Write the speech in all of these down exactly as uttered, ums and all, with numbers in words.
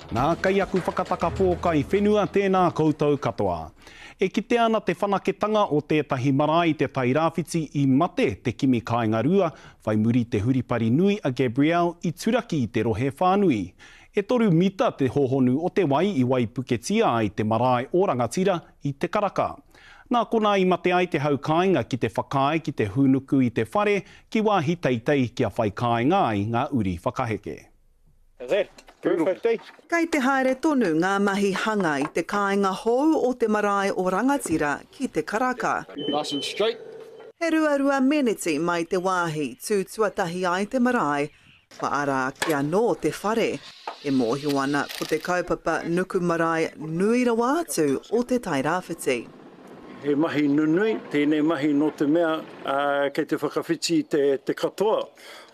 Nā, kei aku whakataka pōkai whenua tēnā koutou katoa. E kite ana te whanaketanga o tētahi marae i te Tairāwhiti i mate te kimi kāinga rua, whai muri te huripari nui a Gabrielle i turaki i te rohe whānui. E toru mita te hohonu o te wai i waipuketia ai te marae o Rangatira i Te Karaka. Nā konā i mate ai te hau kāinga ki te whakaae ki te hūnuku i te whare ki wāhi teitei kia whai kāinga ai ngā uri whakaheke. Kei te haere tonu ngā mahi hanga i te kāinga hou o te marae o Rangatira ki Te Karaka. Nice and straight. He ruarua meneti mai te wāhi tū tuatahi ai te marae, kua ara ake anō te whare. E mōhio ana ko te kaupapa nuku marae nui rawa atu o Te Tairāwhiti. He mahi nunui, tēnei mahi nō te mea kei te whakawhiti te, te katoa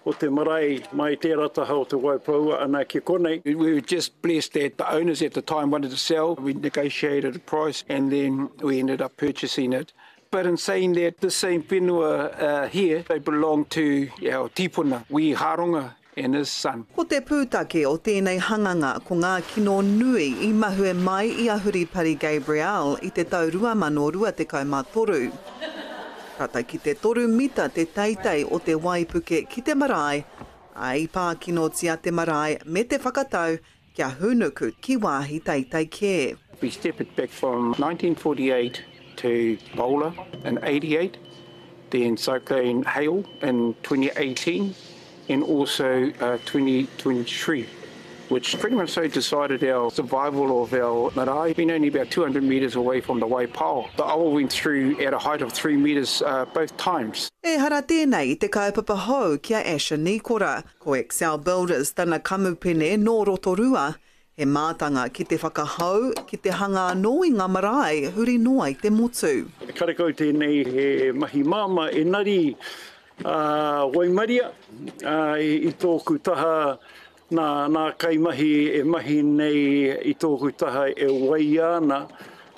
o te marae mai tērā taha o te Waipoua ana ki konei. We were just blessed that the owners at the time wanted to sell. We negotiated a price and then we ended up purchasing it. But in saying that, this same whenua uh, here, they belong to our tipuna, Wi Haronga and his son. Ko te pūtake o tēnei hanganga ko ngā kino nui i mahue mai i a Huripari Gabrielle i te tau rua mano rua tekau mā toru. Tata ki te toru mita te teitei o te waipuke ki te marae, ā, i pākinotia te marae me te whakatau kia hūnuku ki wāhi teitei kē. We step it back from nineteen forty-eight to Bola in eighty-eight, then Cyclone Hale in twenty eighteen, and also, uh, twenty twenty-three, which pretty much so decided our survival of our marae. Being only about two hundred metres away from the Waipao, the awa went through at a height of three metres, uh, both times. Ehara tēnei i te kaupapa hou ki a Asher Nikora. Ko Excel Builders tana kamupene nō Rotorua, he mātanga ki te whakahou, ki te hanga anō i ngā marae huri noa i te motu. Karekau tēnei he mahi māmā engari, uh, waimaria, uh, i, i tōku taha nā, nā kaimahi e mahi nei i tōku taha e waia ana,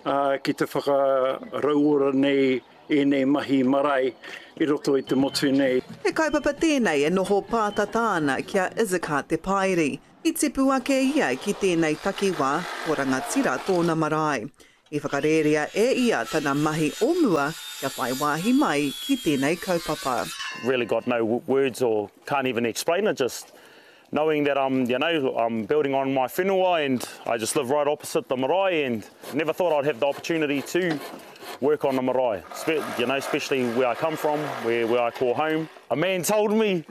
uh, ki te whakarauora nei ēnei mahi marae i roto i te motu nei. He kaupapa tēnei e noho pātata ana ki a Izaka Te Paeri. I tipu ake ia ki tēnei takiwā ko Rangatira tōna marae. I whakarērea e ia tana mahi o mua kia whai wāhi mai ki tēnei kaupapa. Really got no words or can't even explain it, just knowing that I'm, you know, I'm building on my whenua and I just live right opposite the marae and never thought I'd have the opportunity to work on the marae, Spe-, you know, especially where I come from, where, where I call home. A man told me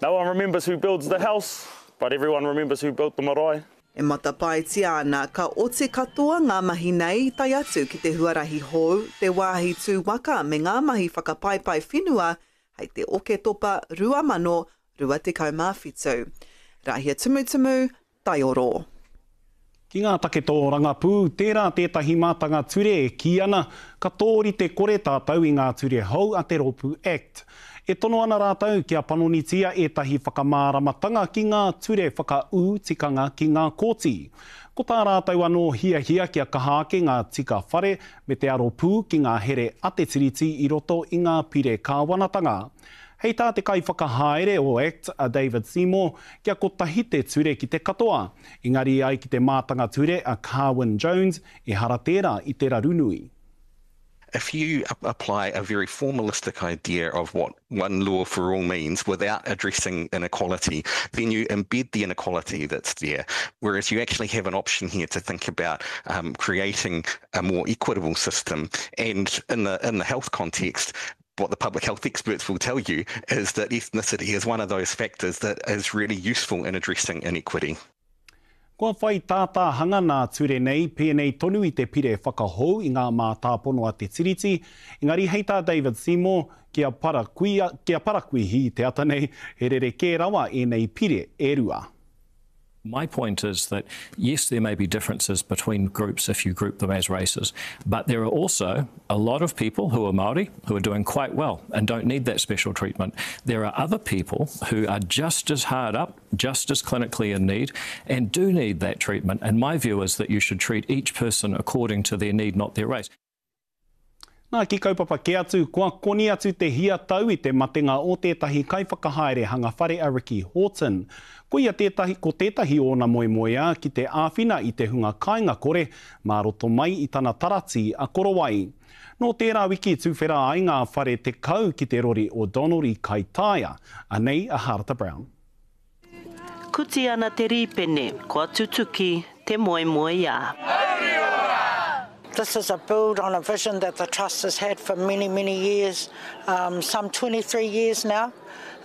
no one remembers who builds the house, but everyone remembers who built the marae. E matapaitia ana ka oti katoa ngā mahi nei tae atu ki te huarahi hou, te wāhi tū waka me ngā mahi whakapaipai whenua hei te Oketopa rua mano rua tekau mā whitu. Rahia Tumutumu, Taioro. Ki ngā take tōrangapū, tērā tētahi mātanga ture e kī ana, ka tōrite kore tātou i ngā ture hou a te Rōpū Act. E tono ana rātou kia panonitia ētahi whakamāramatanga ki ngā ture whakaū tikanga ki ngā kōti. Ko tā rātou anō hiahia kia kaha ake ngā tika whare me te aropū ki ngā here a te tiriti i roto i ngā pire kāwanatanga. Hei tā te kaiwhakahaere o Act a David Seymour kia kotahi te ture ki te katoa. Engari ai ki te mātanga ture a Carwyn Jones ehara tērā i te raru nui. If you ap-, apply a very formalistic idea of what one law for all means without addressing inequality, then you embed the inequality that's there. Whereas you actually have an option here to think about, um, creating a more equitable system. And in the, in the health context, what the public health experts will tell you is that ethnicity is one of those factors that is really useful in addressing inequity. Kua whai tātā hanga nā ture nei, pēnei tonu i te pire whakahou i ngā mātāpono a te tiriti, engari hei tā David Seymour, kia parakuia, kia parakuihi te ata nei, he rerekē rawa ēnei pire e rua. My point is that, yes, there may be differences between groups if you group them as races, but there are also a lot of people who are Māori who are doing quite well and don't need that special treatment. There are other people who are just as hard up, just as clinically in need, and do need that treatment. And my view is that you should treat each person according to their need, not their race. Nā, ki kaupapa kē atu, kua koni atu te hia tau i te matenga o tētahi kaiwhakahaere hanga whare a Ricky Horton. Ko ia tētahi, ko tētahi ōna moemoeā ki te āwhina i te hunga kāinga kore mā roto mai i tana tarati a Korowai. Nō tērā wiki tuwhera ai ngā whare tekau ki te rori o Donald i Kaitaia. Anei a Harata Brown. Kuti ana te rīpene, kua tutuki te moemoeā. This is a build on a vision that the Trust has had for many, many years, um, some twenty-three years now.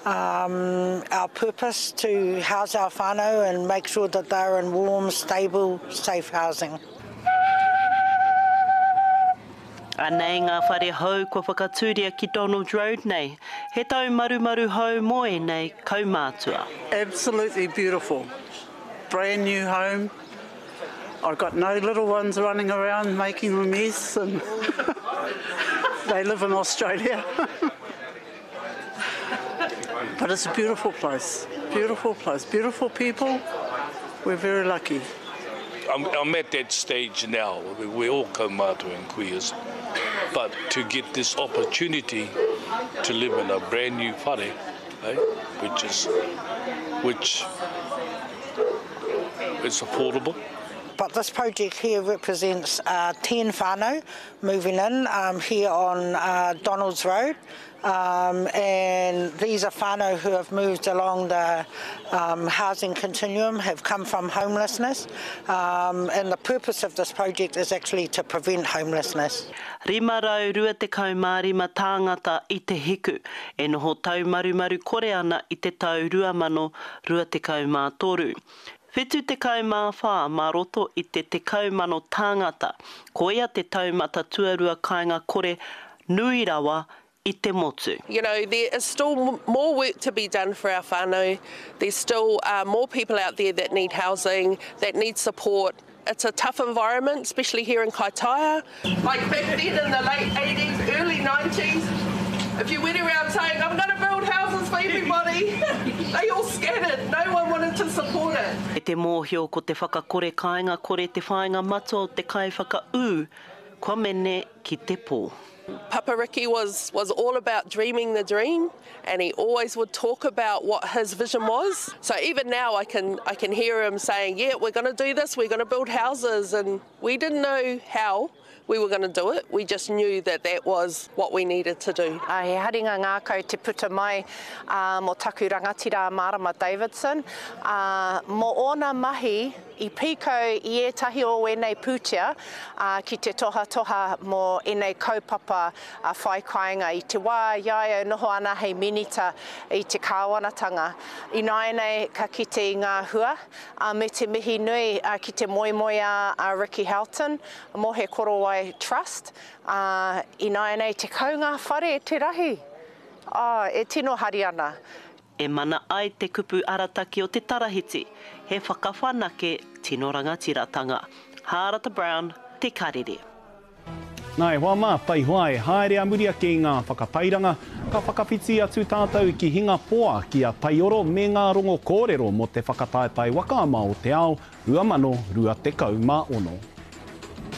Um, our purpose to house our whānau and make sure that they're in warm, stable, safe housing. Anei ngā whare hou kua whakatūria ki Donald Road nei. He tau marumaru hou mō ēnei kaumātua. Absolutely beautiful. Brand new home. I've got no little ones running around making a mess, and they live in Australia. But it's a beautiful place, beautiful place, beautiful people. We're very lucky. I'm, I'm at that stage now. We're all kaumātua and queers, but to get this opportunity to live in a brand new whare, eh, which is, which is affordable. But this project here represents uh, ten whānau moving in um, here on uh, Donald's Road. Um, and these are whānau who have moved along the um, housing continuum, have come from homelessness. Um, and the purpose of this project is actually to prevent homelessness. Rima rau rua tekau mā rima tāngata i te hiku, e noho taumarumaru kore ana i te tau rua mano rua tekau mā toru. Whitu tekau mā whā mā roto i te tekau mano tāngata, koia te taumata tuarua kāinga kore nui rawa i te motu. You know, there is still more work to be done for our whānau. There's still uh, more people out there that need housing, that need support. It's a tough environment, especially here in Kaitaia. Like back then in the late eighties, early nineties, if you went around saying, I'm gonna build houses for everybody, they all scattered. No one wanted to support it. E te mōhio ko te whakakore kāinga kore te whāinga matua o te kai whakaū, kua mene ki te pō. Papa Ricky was, was all about dreaming the dream, and he always would talk about what his vision was. So even now I can, I can hear him saying, yeah, we're gonna do this, we're gonna build houses, and we didn't know how we were gonna do it. We just knew that that was what we needed to do. Uh, he haringa ngākau te puta mai uh, mō taku rangatira Marama Davidson. Uh, mō ōna mahi i pīkau i ētahi o ēnei pūtea uh, ki te tohatoha mō ēnei kaupapa uh, whai kāinga. I te wā i a ia noho ana hei minita i te kāwanatanga. Ināianei ka kite i ngā hua, uh, me te mihi nui uh, ki te moemoeā a Ricky Houghton, mō he Korowai Trust. Uh, ināianei te kau ngā whare te rahi. Oh, e tino hari ana. E mana ai te kupu arataki o te tarahiti, he whakawhanake tino rangatiratanga. Harata Brown, Te Karere. Nā, e hoa mā, taihoa e haere a muri ake i ngā whakatairanga, ka whakawhiti atu tātou ki Hingapoa ki a Taioro me ngā rongo kōrero mō te whakataetae waka ama o te ao rua mano rua tekau mā ono.